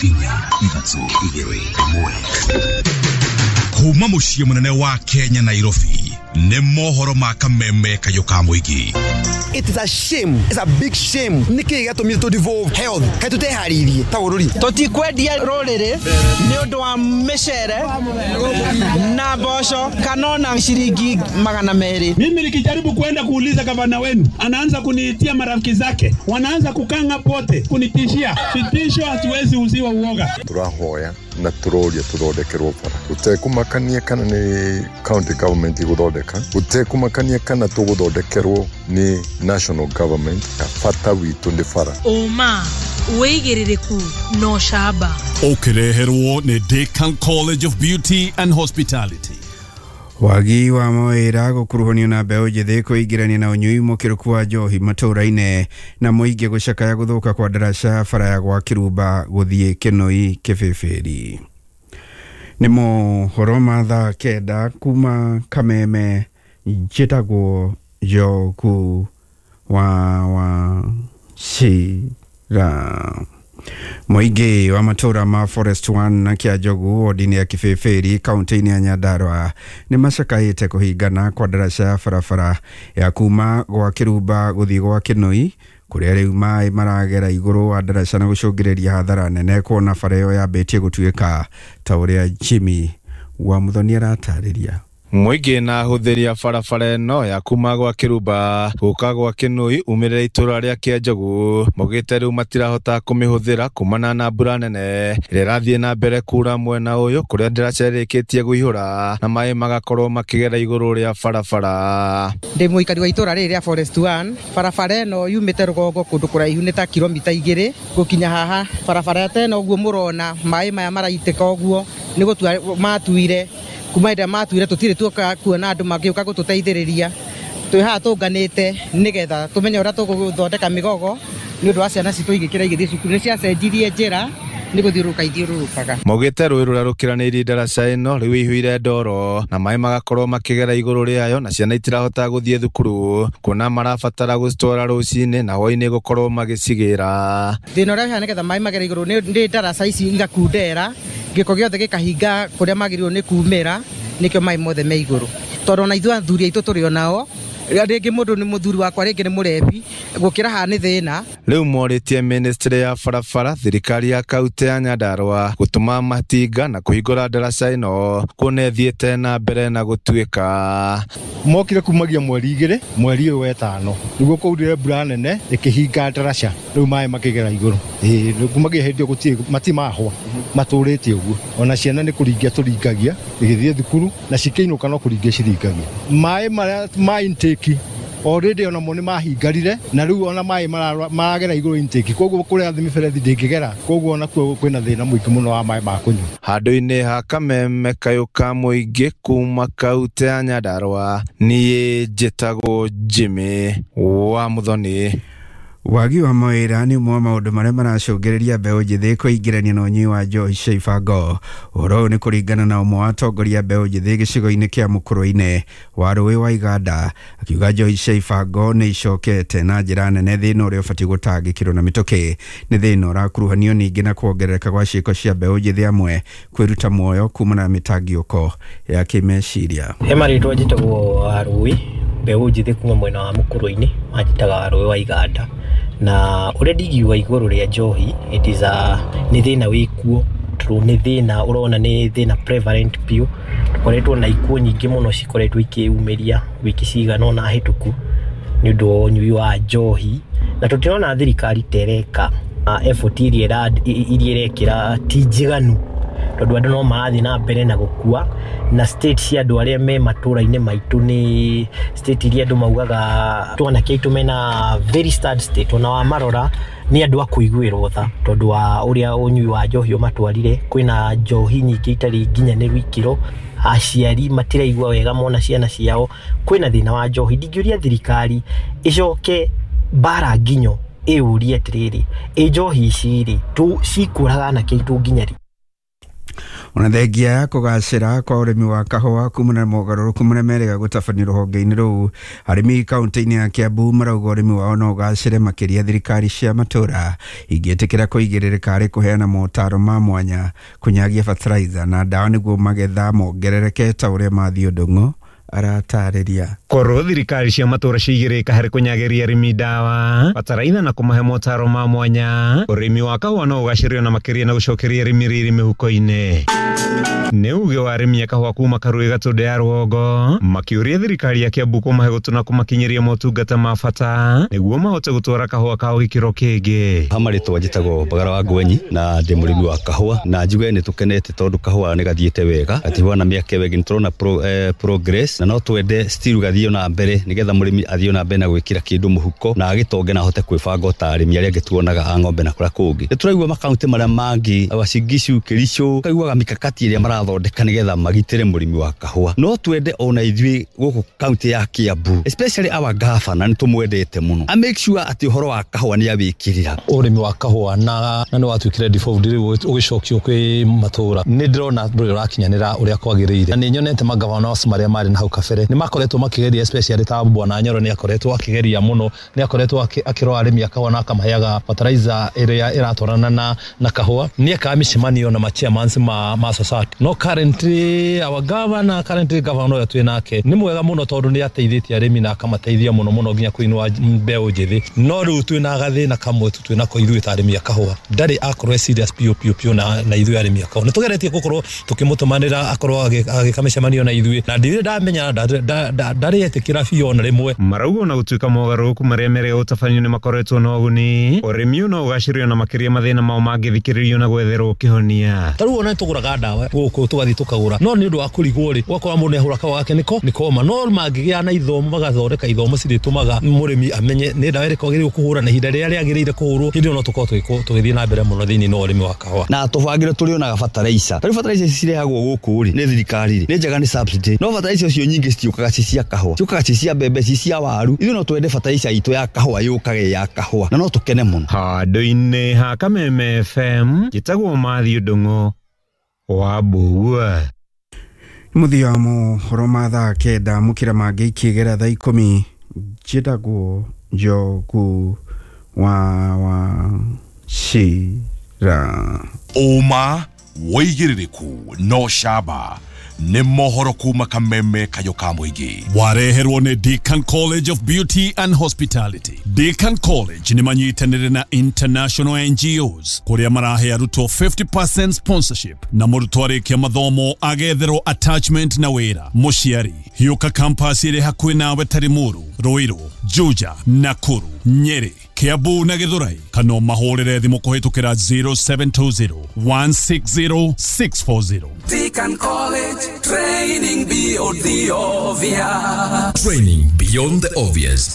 4 3 2 1. Kuma muciĩ munene wa Kenya Nairobi nĩ mohoro ma kameme kayũ ka mũingĩ. It is a shame. It's a big shame. Nĩkĩ gĩatũmire tũ devolve health? Kaĩ tũteharĩirie ta bũrũri? Tũtikwendia rũrĩrĩ nĩ ũndũ wa mĩcere na mboco kana ona ciringi 200. Mimi nikijaribu kwenda kuuliza gavana wenu, anaanza kuniitia marafiki zake, wanaanza kukanga pote kunitishia. Vitisho hatuwezi uziwa uoga. Turahoya na turoria tuthondekerwo bara gutekumakania kana ni county government iguthondeka, gutekumakania kana tuguthondekerwo ni national government. Bata witu ni bara. Uma wĩigĩrĩrĩku no camba ũkĩreherwo nĩ Decan College of Beauty and Hospitality. Wagi wa mawĩra gũkuruhanio na mbeũ njĩthĩ kwĩingĩrania na ũnyui mũkĩrũku wa njohi matũũra-inĩ na mũingĩ gũcakaya gũthũka kwa ndaraca bara ya gwa Kĩrumba gũthiĩ Kĩnũi Kĩbĩbĩri. Nĩ mohoro ma thaa 9 kuma Kameme. Njĩtagwo Njogu wa Wachira. Mũingĩ wa matũũra ma Forest 1 na Kĩanjogu wodi-inĩ ya Kĩbĩbĩri kaunti-inĩ ya Nyandarua nĩ macakaĩte kũhingana kwa ndaraca ya barabara ya kuma gwa Kĩrumba gũthiĩ gwa Kĩnũi kũrĩa rĩu maĩ maragera igũrũ wa ndaraca na gũcũngĩrĩria hathara nene kuona bara ĩyo yambĩtie gũtuĩka ta ũrĩa Jimmy wa Muthoni aratarĩria. Mũingĩ na ahũthĩri a barabara ĩno ya kuma gwa Kĩrumba gũka gwa Kĩnũi umĩrĩra itũra rĩa Kĩanjogu maugĩte rĩu matirahota kũmĩhũthĩra kumana na mbura nene ĩrĩa ĩrathiĩ na mbere kura mwena ũyũ kũrĩa ndaraca ĩrĩkĩtie kũihũra na maĩ magakorwo makĩgera igũrũ rĩa barabara. Ndĩ mũikari wa itũra rĩrĩ rĩa Forest 1. Barabara ĩno yumĩte rũgongo kũndũ kũraihu nĩ ta kilomita 2 gũkinya haha. Barabara ta ĩno ũguo mũrona maĩ maya maraitĩka ũguo nĩ gũtua matuire kuma ĩrĩa matuire tũtirĩ tuoka kuona andũ magĩũka gũtũteithĩrĩria. Twĩ haha tũnganĩte nĩgetha tũmenye ũrĩa tũgũthondeka mĩgogo nĩ ũndũ wa ciana citũ igĩkĩra igĩthiĩ cukuru. Nĩ ciacenjirie njĩra nĩ gũthiũrũrũka ithiũrũrũkaga. Maugĩte rũĩ rũrĩa rũkĩranĩirie ndaraca ĩno rĩu ĩihũire ndoro na maĩ magakorwo makĩgera igũrũ rĩayo na ciana itirahota gũthiĩ thukuru kuona marabatara gũcitwara rũcinĩ na hwaĩ-inĩ gũkorwo magĩcigĩra. Thĩna ũrĩa wĩ haha nĩgetha maĩ magere igũrũ nĩ ndaraca ici igakundera gĩko gĩothe gĩkahinga kũrĩa magĩrĩirwo nĩ kumĩra nĩkĩo maĩ mothe me igũrũ. Tondũ ona ithuĩ athuri aitũ tũrĩ onao, rĩngĩ mũndũ nĩ mũthuri wakwa rĩngĩ nĩ mũrebi gũkĩra haha nĩ thĩna. Rĩu morĩtie ministry ya barabara thirikari ya kaunti ya Nyandarua gũtũma matinga na kũhingũra ndaraca ĩno kuona ĩthiĩte na mbere na gũtuĩka. Mokire kumagia mweri 2 mweri ũyũ wetano nĩguo kwaurire mbura nene ĩkĩhinga ndaraca rĩu maĩ makĩgera igũrũ. Ĩĩ kumagia hĩndĩ ĩyo gũtirĩ matimahwa matũrĩte ũguo ona ciana nĩ kũringia tũringagia igĩthiĩ thukuru na cikĩinũka no kũringia ciringagia. Maĩ marĩa ma intake already ona mo nĩ mahingarire na rĩu ona maĩ maragera igũrũ intake koguo kũrĩa thĩ mĩberethi ndĩngĩgera koguo ona kuo kwĩna thĩna mũingĩ mũno wa maĩ ma kũnyua. Handũ-inĩ ha Kameme kayũ ka mũingĩ kuma kaunti ya Nyandarua niĩ njĩtagwo Jimmy wa Muthoni. Wagi wa mawĩra nĩ ũmwe wa maũndũ marĩa maracũngĩrĩria mbeũ njĩthĩ kwĩingĩrania na ũnyui wa njohi cia ibango. Ũhoro ũyũ nĩ kũringana na ũmwe wa atongoria mbeũ njĩthĩ gĩcigo-inĩ kĩa mũkũrũ-inĩ wa rũĩ wa Iganda, akiuga njohi cia ibango nĩ icokete na njĩra nene thĩna ũrĩa ũbatiĩ gũtangĩkĩrwo na mĩtũkĩ. Nĩ thĩna ũrakuruhanio ningĩ na kuongerereka gwa ciĩko cia mbeũ njĩthĩ amwe kwĩruta muoyo kumana na mĩtangĩko ya kĩmeciria. He marĩtwa njĩtagwo Warũĩ, mbeũ njĩthĩ kuma mwena wa mũkũrũ-inĩ manjĩtaga Warũĩ wa Iganda. Na ũrĩa ndingiuga igũrũ rĩa njohi it is a nĩ thĩna wĩkuo tondũ nĩ thĩna ũrona nĩ thĩna prevalent biũ. Tũkoretwo na ikuũ nyingĩ mũno cikoretwo ikĩyumĩria wiki cigana ũna hĩtũku nĩ ũndũ wa ũnyui wa njohi na tũtirona thirikari ta ĩreka effort iria ĩrekĩra ti njiganu tondũ andũ no marathiĩ na mbere na gũkua na state cia andũ arĩa me matũra-inĩ maitũ nĩ state iria andũ maugaga twanake aitũ mena very sad state ona wamarora nĩ andũ a kũiguĩrwo tha tondũ wa ũrĩa ũnyui wa njohi ũmatwarire. Kwĩna njohi nyingĩ itarĩ nginyanĩru ikĩro, aciari matiraigua wega mona ciana ciao, kwĩna thĩna wa njohi. Ndingĩũria thirikari ĩcoke mbara nginyo ĩũrie atĩrĩrĩ, ĩ njohi ici rĩ cikũraga anake aitũ nginya rĩ? Ona thengia ya kũgacĩra kwa ũrĩmi wa kahũa kumana na mogarũrũku marĩa merĩga gũtabanio rũhonge-inĩ rũu, arĩmi kaunti-inĩ ya Kiambu marauga ũrĩmi wao no ũgacĩre makĩria thirikari cia matũũra ingĩtĩkĩra kũigĩrĩrĩka harĩ kũheana motaro ma mwanya, kũnyagia fertilizer na ndawa nĩguo magetha mongerereke ta ũrĩa Mathiũ Ndung'u aratarĩria. Korwo thirikari cia matũra ciigĩrĩka harĩ kũnyagĩria arĩmi ndawa, bataraitha na kũmahe motaro ma mwanya, ũrĩmi wa kahũa no ũgacĩrio na makĩria na gũcokeria arĩmi riri mĩhuko-inĩ. Nĩ uge wa arĩmi a kahũa kuma Karũĩ Gatũndũ ya rũgongo makĩũria thirikari ya Kiambu kũmahe gũtũ na kũmakinyĩria motungata ma bata nĩguo mahote gũtwara kahũa kao gĩkĩro kĩngĩ. Ha marĩtwa njĩtagwo Mbagara wa Ngwenyi na ndĩ mũrĩmi wa kahũa, na njuge nĩ tũkenete tondũ kahũa nĩ gathiĩte wega, gatihana mĩaka ĩyo ĩngĩ, nĩ tũrona progress, na no twende still gathiĩ na mbere nĩgetha mũrĩmi athiĩ na mbere na gwĩkĩra kĩndũ mũhuko na agĩtonge na ahote kwĩbanga ta arĩmi arĩa angĩ tuonaga a ng'ombe na kũrĩa kũngĩ. Nĩ tũraigua makaunti marĩa mangĩ, Uasin Gishu, Kericho, kaiguaga mikakati ĩrĩa marathondeka nĩgetha magitĩre mũrĩmi wa kahũa. No twende ona ithuĩ gũkũ kaunti ya Kiambu, especially our governor, nĩ tũmwendete mũno, a make sure atĩ ũhoro wa kahũa nĩ awĩkĩrĩra. Ũrĩmi wa kahũa na nĩ watuĩkire default rĩu ũgĩcokio kwĩ matũũra, nĩ ndĩrona ndũrĩ ũrakinyanĩra ũrĩa kwagĩrĩire, na nĩ nyonete magavana marĩa marĩ na hau kabere nĩ makoretwo makĩgeria, especially ta Bwana Nyoro nĩ akoretwo akĩgeria mũno, nĩ akoretwo akĩrora arĩmi a kahũa na akamaheaga fertilizer ĩrĩa ĩratwarana na kahũa, nĩ ekaga mĩcemanio na ma-chairmans ma society. No currently our governor, currently governor ũrĩa twĩ nake nĩ mwega mũno tondũ nĩ ateithĩtie arĩmi na akamateithia mũno mũno nginya kũinũa mbeũ njĩthĩ. No rĩu twĩna gathĩna kamwe tu twĩnako ithuĩ ta arĩmi a kahũa, ndarĩ akorwo e serious piũ piũ piũ na ithuĩ arĩmi a kahũa. Nĩ tũgeretie gũkorwo tũkĩmũtũmanĩra akorwo agĩka mĩcemanio na ithuĩ, na ndirĩ ndamenya ndarĩ etĩkĩra biũ ona rĩmwe. Marauga ona gũtuĩka mogarũrũku marĩa merĩga gũtabanio nĩ makoretwo na ũguni, ũrĩmi ũyũ no ũgacĩrio na makĩria mathĩna mao mangĩthikĩrĩrio na gwetherwo kĩhonia. Ta rĩu ona nĩtũgũraga ndawa gũkũ tũgathiĩ tũkagũra, no nĩ ũndũ wa kũrigwo rĩ, ũgakora mũndũ nĩahũra kahũa gake nĩko nĩkoma. No mangĩgĩa na ithomo, magathondeka ithomo cirĩtũmaga mũrĩmi amenye nĩ ndawa ĩrĩkũ agĩrĩirwo kũhũra na ihinda rĩrĩa rĩagĩrĩire kũhũrwo, hĩndĩ ĩyo no tũkorwo tũgĩthiĩ na mbere mũno thĩinĩ wa ũrĩmi wa kahũa. Na tũbangĩre tũrĩonaga fertilizer, ta rĩu fertilizer ici cirehagwo gũkũ rĩ nĩ thirikari rĩ, nĩ njega nĩ subsidy, no fertilizer icio nyingĩ citiũkaga ci cia kahũa, ciũkaga ci cia mbembe, ci cia waru. Ithuĩ no twende fertilizer itũ ya kahũa yũkage ya kahũa na no tũkene mũno. Handũ-inĩ ha Kameme FM njĩtagwo Mathiũ Ndung'u wa Mbugua. Mũthia wa mohoro ma thaa 9 mũkĩra mangĩ ikĩgera thaa 10 njĩtagwo Njogu wa Wachira. Ũma wĩigĩrĩrĩku no camba nĩ mohoro kuma Kameme kayũ ka mũingĩ. Wareherwo nĩ Deacon College of Beauty and Hospitality. Deacon College nĩ manyitanĩire na international NGOs kũrĩa marahe arutwo 50% sponsorship na mũrutwo arĩkia mathomo agetherwo attachment na wĩra. Mũciari hiũka campus ĩrĩ hakuhĩ nawe ta Limuru, Ruiru, Juja, Nakuru, Nyeri, Kiambu na Githurai, kana mahũrĩre thimũ kũhĩtũkĩra 0720 160 640. Deacon College, training beyond the obvious. Training beyond the obvious.